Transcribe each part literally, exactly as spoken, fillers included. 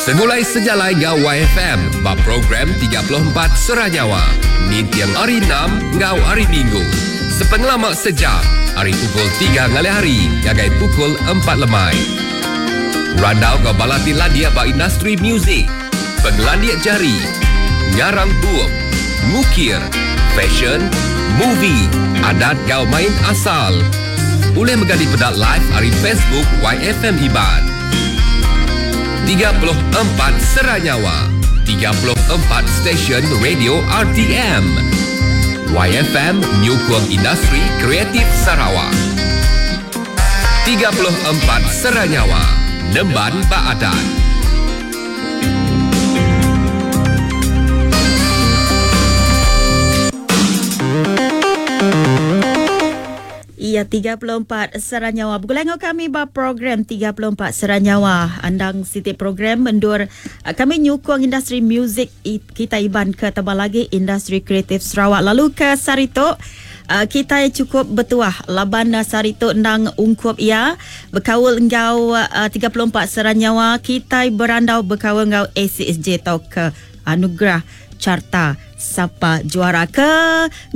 Segulai sejalai ngau Y F M ba program tiga puluh empat Seranyawa. Nintiang hari enam ngau hari Minggu. Sepengelama sejam, hari pukul tiga ngalih hari ngagai pukul empat lemai. Randau ngau balati landia ba industri muzik, pengelandia jari, ngarang bup, ngukir, fashion, movie, adat ngau main asal. Boleh megadi pedak live hari Facebook Y F M Iban. tiga puluh empat Seranyawa, tiga puluh empat stesen radio R T M. Y F M nyukung industri kreatif Sarawak. tiga puluh empat Seranyawa, Nemban Baadan. Ya, tiga puluh empat Seranyawa. Bergulai dengan kami ba program tiga puluh empat Seranyawa. Andang siti program mendur kami nyukung industri muzik kita Iban ke tambah lagi industri kreatif Sarawak. Lalu ke Sarito kita cukup bertuah laban Sarito endang ungkup ia berkaul engau tiga puluh empat Seranyawa. Kita berandau berkaul engau A C S J atau ke Anugerah Carta Sapa Juara ke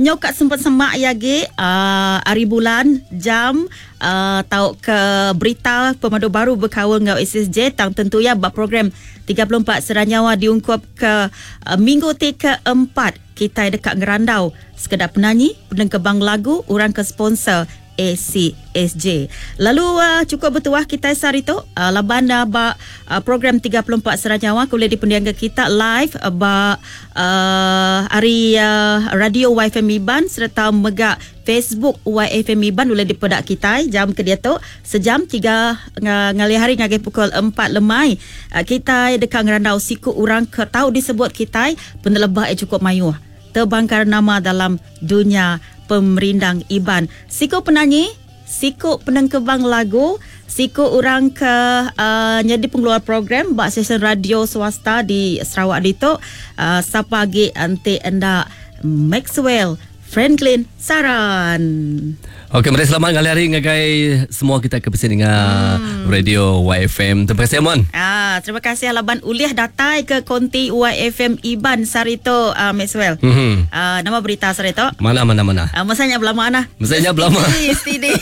nyokat sempat semak ya ge uh, hari bulan jam uh, tau ke berita pemadu baru berkaul ngau S S J tang tentu ya bab program tiga puluh empat Seranyawa diungkup ke uh, minggu ti keempat kita dekat ngerandau sekedar penyanyi penengkebang lagu orang ke sponsor A C S J. Lalu uh, cukup bertuah kita sehari tu uh, laban uh, ba uh, program tiga puluh empat Seranyawa boleh dipendiang ke kita live uh, ba uh, hari uh, radio Y F M Iban serta mega Facebook Y F M Iban boleh dipedak kita jam ke dia tu sejam tiga ngalih hari ngagai pukul empat lemai. Uh, kita dekat ngerandau siku orang ke tahu disebut kita penelebah eh cukup mayuh terbangkar nama dalam dunia pemerindang Iban. Siku penyanyi, siku penengkebang lagu, siku orang ke uh, jadi pengeluar program bak stesen radio swasta di Sarawak ditu. Uh, siapa lagi ante enda Maxwell Franklin Saran. Okey, mari selamat kali hari ngagai semua kita ke pesini dengan hmm. Radio Y F M. Terima kasih Amon. Ah, terima kasih Laban uliah datai ke konti Y F M Iban Sarito uh, Maxwell. Mm-hmm. Uh, nama berita Sarito? Mana mana mana. Uh, masanya belama ana. Masanya belama. Steady.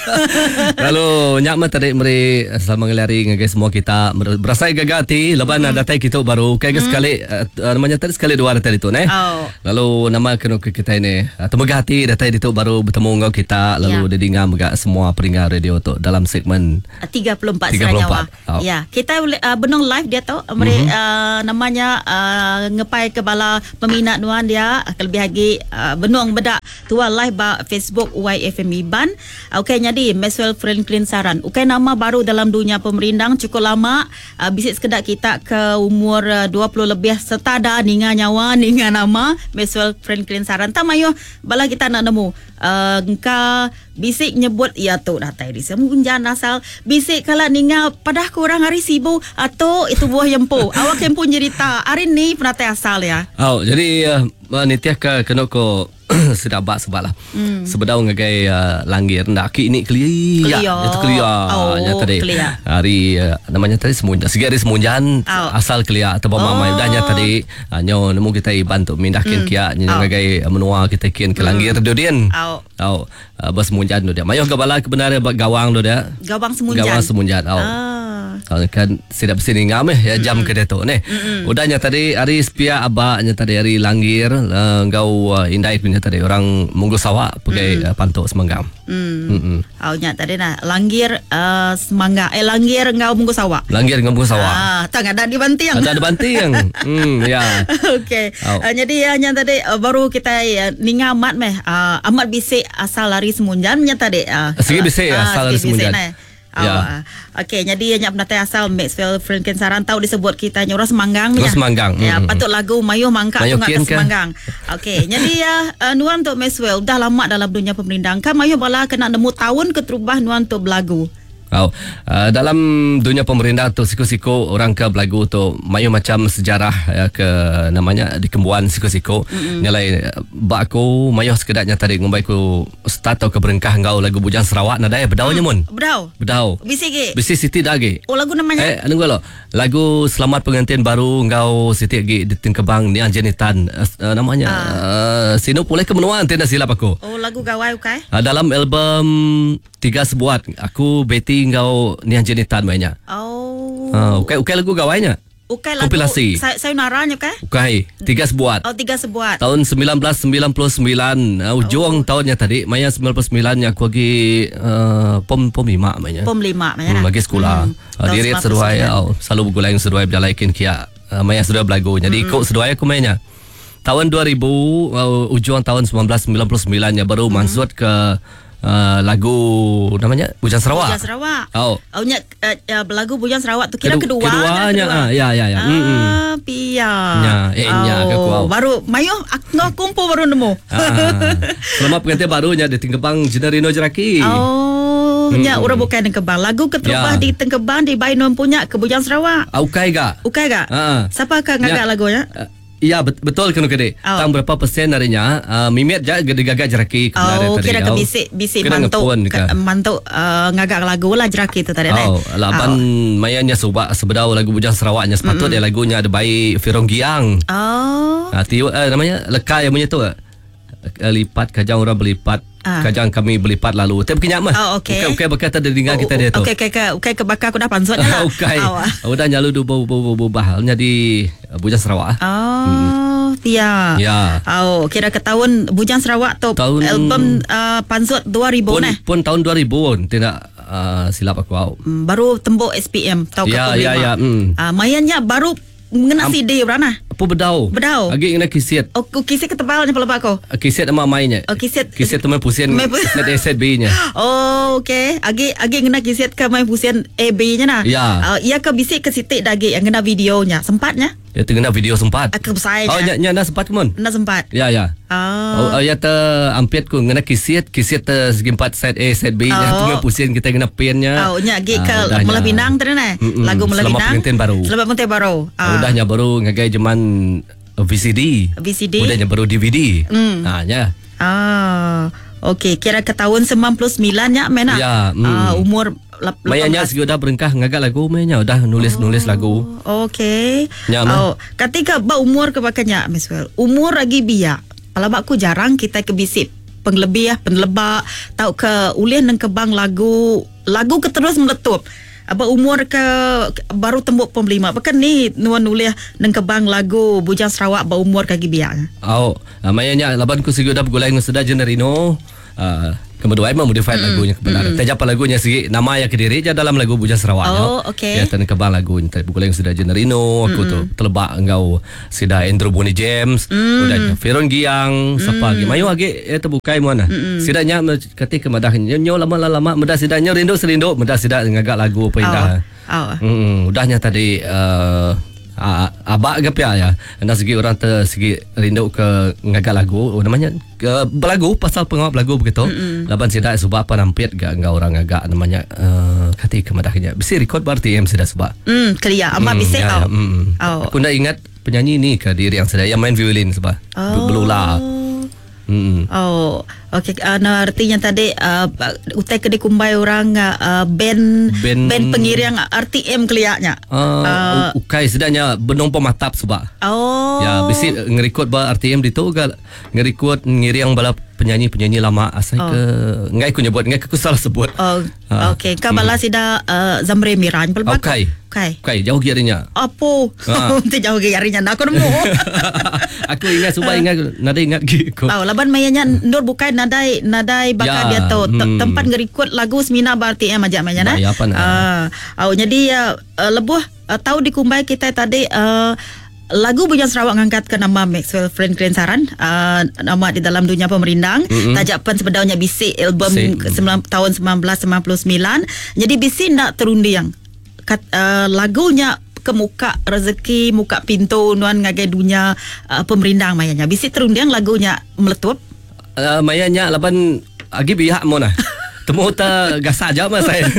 Lalu nyak mah tadi meri selamat kali hari ngagai semua kita berasai gagah hati Laban mm. datai kita baru kayak mm. sekali uh, namanya tadi sekali dua datai itu ne. Oh. Lalu nama kena ke kita ini uh, temegah hati datai itu baru bertemu dengan kita lalu yeah. Dengar megak semua peringkat radio tu dalam segmen tiga puluh empat Seranyawa. Oh. Ya, kita uh, benung live dia tu meri mm-hmm. uh, namanya uh, ngepai ke bala peminat nuan dia kelebih lagi uh, benung bedak tua live ba Facebook Y F M Iban. Okey, jadi Maxwell Franklin Saran. Okey, nama baru dalam dunia pemerindang cukup lama uh, bisik sekedak kita ke umur uh, dua puluh lebih serta dah ninga nyawa ninga nama Maxwell Franklin Saran. Tak mayo bala kita nak nemu uh, engka bisik nyebut ya tu datai di semunjan asal bisik kala ninga padah kurang hari sibu atau itu buah yempo awak kempu nyerita hari ni penatai asal ya. Oh, jadi uh, nitiah ke kena ko sedabak sebab lah. Hmm. Sebedau ngagai uh, langgir ndak ki ini kelia. Itu kelia. Oh, ya tadi. Kelia. Hari uh, namanya tadi semunjan. Segi hari semunjan oh. asal kelia atau oh. mamai dahnya tadi uh, nyo nemu kita iban tu mindah kin hmm. kia nyo oh. ngagai menua kita kin ke langgir hmm. dodien. Oh. Oh, uh, bersemunjan tu dia. Mayoh ke bala kebenaran gawang tu dia. Gawang semunjan. Gawang semunjan. Oh. Ah. Kan tidak bersini ngam eh ya jam mm-hmm. ke dia tu ni. Mm-hmm. Udahnya tadi hari sepia abaknya tadi hari langgir uh, ngau uh, indai punya tadi orang Munggu Sawak pakai mm-hmm. uh, pantuk semanggam. Mm. Oh nya tadi nah langgir uh, semangga eh langgir ngau Munggu Sawak. Langgir ngau Munggu Sawak. Ah, tak ada di Bantiang. Ada di Bantiang. Hmm ya. Okey. Oh. Uh, jadi ya nya tadi uh, baru kita uh, ninga amat meh uh, amat bisik asal lari semunjan nya tadi. Uh, Segi bisik uh, asal lari semunjan. Oh, Ya. Okey, jadi yang penatai asal Maxwell Franklin Saran tahu disebut kita orang Semanggang ya. Semanggang. Ya, mm-hmm. patut lagu Mayuh Mangkak Mayuh tu ngak Semanggang. Okey, jadi ya uh, nuan untuk Maxwell dah lama dalam dunia pemerindang. Kan mayuh bala kena nemu tahun keterubah nuan untuk belagu. Oh, uh, dalam dunia pemerintah tu siku-siku orang ke belagu tu mayu macam sejarah ya, ke namanya dikembuan siku-siku. Mm-hmm. Nyalai bak aku mayu sekedaknya tadi ngumbai ku start atau ke berengkah ngau lagu Bujang Sarawak nadai bedau nya mun. Bedau. Bedau. Bisi ge. Bisi Siti dah ge. Oh lagu namanya. Eh anu lo. Lagu Selamat Pengantin Baru ngau Siti ge di Tengkebang ni Anjenitan uh, namanya ah. uh, sino pulih ke menua nanti dah silap aku. Oh lagu gawai ukai. Uh, dalam album Tiga Sebuat aku Betty ngau Nian Jenitan mainnya. Oh. Uh, ukai ukai lagu gawainya. Ukai lagu kompilasi. Saya sayonara nya ukai? Ukai, Tiga Sebuat. Oh, Tiga Sebuat. Tahun sembilan belas sembilan puluh sembilan, uh, ujung oh. tahunnya tadi, maya sembilan puluh sembilan nya aku lagi uh, pom pom lima mainnya. Pom lima mainnya. Hmm, lagi sekolah. Hmm. Uh, Dirit seduai oh, selalu bergulai seduai berjalai kin kia. Uh, maya seduai belagu. Jadi hmm. ikut seduai aku mainnya. Tahun dua ribu uh, ujung tahun sembilan belas sembilan puluh sembilan nya baru hmm. mansut ke Uh, lagu namanya Bujang Sarawak. Bujang Sarawak. Oh. Oh nya uh, uh, lagu Bujang Sarawak tu kira Kedu- kedua. Keduanya. Kedua. Ah, ya ya ya. Ah, Mm-mm. pia. Nya, eh nya oh, ke aku. Baru mayu aku ngau kumpul baru nemu. Ah. Selamat pengantin barunya di Tengkebang Jenerino Jeraki. Oh, nya hmm. orang bukan Tengkebang. Lagu keterubah ya. di Tengkebang di Bainun punya ke Bujang Sarawak. Ah, ukai ga? Ukai ga? Ah. Siapa ke ngagak lagunya? Uh, Ya betul kena kede. Oh. Tang berapa persen darinya uh, mimit je gede gagak jeraki oh, tadi. Kira ke bisik bisik mantuk ke, mantuk uh, ngagak lagu lah jeraki tu tadi. Oh, laban oh. mayanya subak sebedau lagu Bujang Sarawaknya sepatut mm-hmm. dia lagunya ada baik Firong Giang. Oh. Ha, tiu, uh, namanya leka yang punya tu. Uh, lipat kajang orang berlipat. Ah. Kajang kami berlipat lalu. Tapi kenyak mah. Oh, okey. Bukan bukan bekas tadi dengar oh, kita dia tu. Okey okey okey okey ke bakar aku dah pansut lah. Okey. Udah nyalu du bu bu bu bah jadi Bujang Sarawak. Oh, hmm. Pia. Ya. Oh, kira ke tahun Bujang Sarawak tu tahun, album uh, pansut dua ribu pun, nah. Pun tahun dua ribu pun tidak uh, silap aku au. Hmm, baru tembok S P M tahun ya, ke ya, ya. Hmm. Uh, mayanya baru mengena C D berana. Apa bedau? Bedau. Agi kena kisit. Oh, kisit ketebalnya pula aku. Kisit sama mainnya. Oh, kisit. Kisit tu main pusing. Main pusing. Set A set B nya. Oh, okey. Agi agi kena kisit ke main pusing A B nya nah. Ya. Uh, ia ke bisik ke sitik dagi yang kena videonya. Sempatnya? Ya kena video sempat. Aku besar. Oh, nya nya dah sempat ke mon? Dah sempat. Ya, ya. Oh. Oh, ya te ampit ku ngena kisit, kisit te segi empat set A set B nya Oh. tu main pusing kita kena pinnya. Oh, nya agi ke Ah, Melah Pinang tadi nah. Lagu Melah Selamat Pinang. Pengantin Baru. Selamat Pengantin Baru. Ah. Udahnya baru ngagai zaman V C D. V C D. Udahnya baru D V D. Mm. Ha nya. Ah. Okey, kira ke tahun sembilan puluh sembilan nya mena. Ya, mm. Ah, umur lap- Mayanya lapan belas. segi udah berengkah ngagak lagu mayanya udah nulis-nulis Oh. lagu. Okey. Ya, mah. Oh, ketika ba umur ke bakanya Miswell. Umur lagi biak. Kalau bakku jarang kita ke bisik penglebih penlebak tau ke ulih neng kebang lagu lagu ke terus meletup. Aba umur ke baru tembuk pom lima. Bahkan ni nuan ulih neng kebang lagu Bujang Sarawak ba umur kaki biak. Oh, mayanya laban ku segi udah bergulai dengan sudah Jenerino. Uh, kemudian memang modified mm. lagunya kebenaran. Mm. Tajap lagunya segi nama yang kediri je dalam lagu Bujang Sarawak. Oh, okey. Ya tan kebang lagu entah bergulai dengan sudah Jenerino, aku tu telebak engkau sida Andrew Bonnie James, Mm. udah Feron Giang, siapa lagi. Mayu lagi eh terbukai mana. Sidanya ketika madah nyo lama-lama medah sidanya rindu serindu medah sida ngagak lagu apa indah. Oh. Oh. Hmm, udahnya tadi uh, abak ke pia ya. Anda segi orang ter segi rindu ke ngagak lagu, oh, namanya ke berlagu pasal pengawal lagu begitu. Mm-mm. Laban sida sebab apa nampit gak enggak orang agak namanya uh, kati kemadahnya. Bisi record bar T M sida sebab. Hmm, kelia amma Hmm, bisik ya, tau. ya, mm. Oh. Aku nak ingat penyanyi ni ke diri yang sedang yang main violin sebab. Oh. Belula. Hmm. Oh, okey. Uh, nah, artinya tadi uh, utai ke dikumbai orang uh, band, Band- band pengiring R T M keliaknya. Uh, uh, ukai sedangnya benong pematap sebab. Oh. Ya, bisi ngerekod ba R T M ditu ke ngerekod ngiring bala penyanyi-penyanyi lama asal Oh. ke ngai ku nyebut ngai ku salah sebut. Oh, Ah. okey. Kau balas sida uh, Zamre Miran pelbak. Ukai. Ukai. Ukai jauh kirinya. Apa? Ah. Untuk jauh ke harinya nak aku nemu. Aku ingat subah ingat nadai ingat gi aku. Oh, laban mayanya nur bukan nadai nadai bakal Ya, dia tu hmm. tempat ngerikut lagu semina ba R T M aja mayanya nah. Ba, ya, apa nak? Ah, oh, jadi uh, uh, lebuh uh, tahu dikumbai kita tadi uh, lagu Bujang Sarawak ngangkat ke nama Maxwell Franklin Saran uh, nama di dalam dunia pemerindang mm-hmm. Tajak pen sebedaunya bisik album Bisik. sembilan, tahun sembilan belas sembilan puluh sembilan. Jadi bisik nak terunding Kat, uh, lagunya ke muka rezeki muka pintu nuan ngagai dunia uh, pemerindang mayanya bisik terunding lagunya meletup Uh, mayanya laban agi biak mo nah. Temu ta gasak aja mah saya.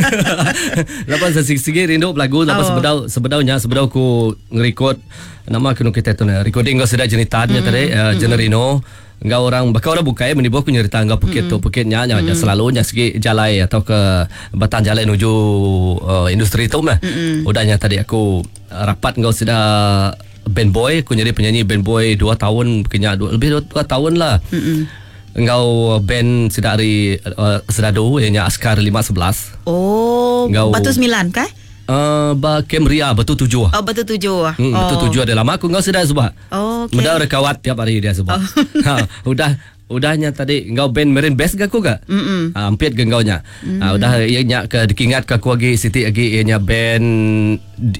Laban saya sigi rindu belagu laban Oh. sebedau sebedaunya sebedau ku ngerekod nama kenu kita tu ne recording ngau sida jenitan nya tadi uh, Generino ngau orang bakal orang bukai menibu aku nyerita ngau pekit tu pekit nya nya mm. selalu nya segi jalai atau ke batang jalai menuju uh, industri tu mah. Udahnya tadi aku uh, rapat ngau sida band boy, aku jadi penyanyi band boy dua tahun kenya dua, lebih dua, dua tahun lah. Mm-mm. Ngau band sida hari uh, Sedadu ianya Askar lima sebelas. Oh, Ngau- Batu Sembilan kah? Uh, ba Camria Batu Tujuh. Oh, Batu Tujuh. Hmm, oh. Batu Tujuh ada lama aku ngau sudah sebab. Oh, okey. Mudah rekawat tiap hari dia sebab. Oh. Ha, udah udahnya tadi ngau band Marine Best ke aku ke? Mm-mm. Ha, ampit ke ngau nya. Mm. Ha, udah ia nya ke dikingat ke aku lagi Siti lagi ia nya band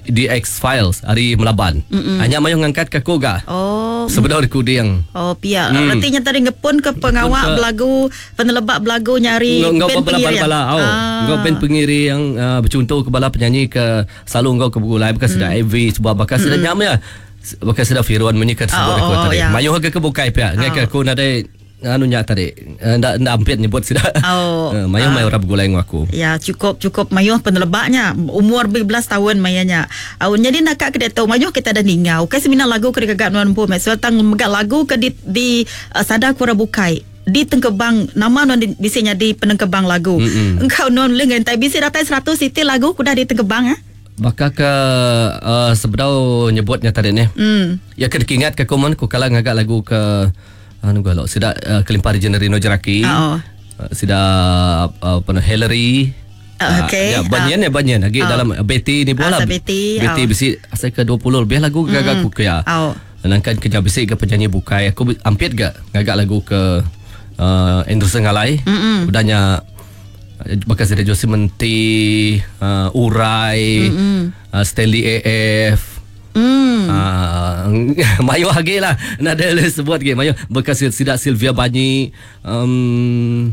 D X Files hari Melaban. Mm-mm. Hanya mayu ngangkat ke aku ga. Oh. Sebenar recording. Oh, pia. Hmm. Artinya tadi ngepun ke pengawak ke- belagu, penelebak belagu nyari Ngau ngau band bala pengiring. bala oh. Ah. Ngau band pengiri yang uh, bercontoh ke bala penyanyi ke selalu ngau ke Begulai bukan sudah mm. A V sebab bakal sudah nyam ya. Bakal sudah Firwan menyikat sebut Oh, aku oh, oh, tadi. ya. Mayuh ke ke bukai pia. Ngai ke aku nadai anu nya tadi. Ndak ndak ampit nyebut sudah. Oh. Uh, mayuh Ah. mai orang Begulai ngau aku. Ya, cukup cukup mayuh penelebaknya. Umur belas tahun mayanya. Uh, jadi nak ke dia tahu mayuh kita ada ningau. Kai semina lagu ke gagak nuan pun. Maxwell tang megak lagu ke di, di uh, sadar kura bukai. Di tengkebang nama nuan di, bisanya di penengkebang lagu. Mm-mm. Engkau nuan lengan tai bisi datai seratus siti lagu kudah di tengkebang ah. Bakal ke uh, sebedau nyebutnya tadi ni. Hmm. Ya ke dikingat ke komen ku kala ngagak lagu ke anu galok sida uh, kelimpah di Generino Jeraki. Oh. Uh, sida uh, apa nama Hillary. Ah, okey. Ya, banyan ya banyan lagi Ah. dalam uh, Betty ni bola. Ah, sa Betty, Betty ah. bisi asal ke dua puluh lebih lagu gagak aku ke ya. Oh. Nangkan kerja bisi ke penyanyi bukai aku ampit gak ngagak lagu ke uh, Andrew Sengalai. Mm-mm. Udahnya bakal sida Jose Menti, uh, Urai, uh, Stanley A F. Hmm. Ah, mayu lagi lah. Nak ada sebut lagi. Mayu bekas sidak Sylvia Banyi. Um,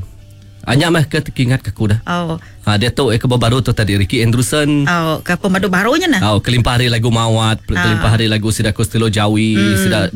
Anyam mah ke terkingat ke aku dah. Oh. Ha, dia tu eh ke baru tu tadi Ricky Andrewson. Oh, ke pemadu barunya nah. Oh, kelimpah hari lagu Mawat, kelimpah hari lagu Sida Costello Jawi, hmm. Sida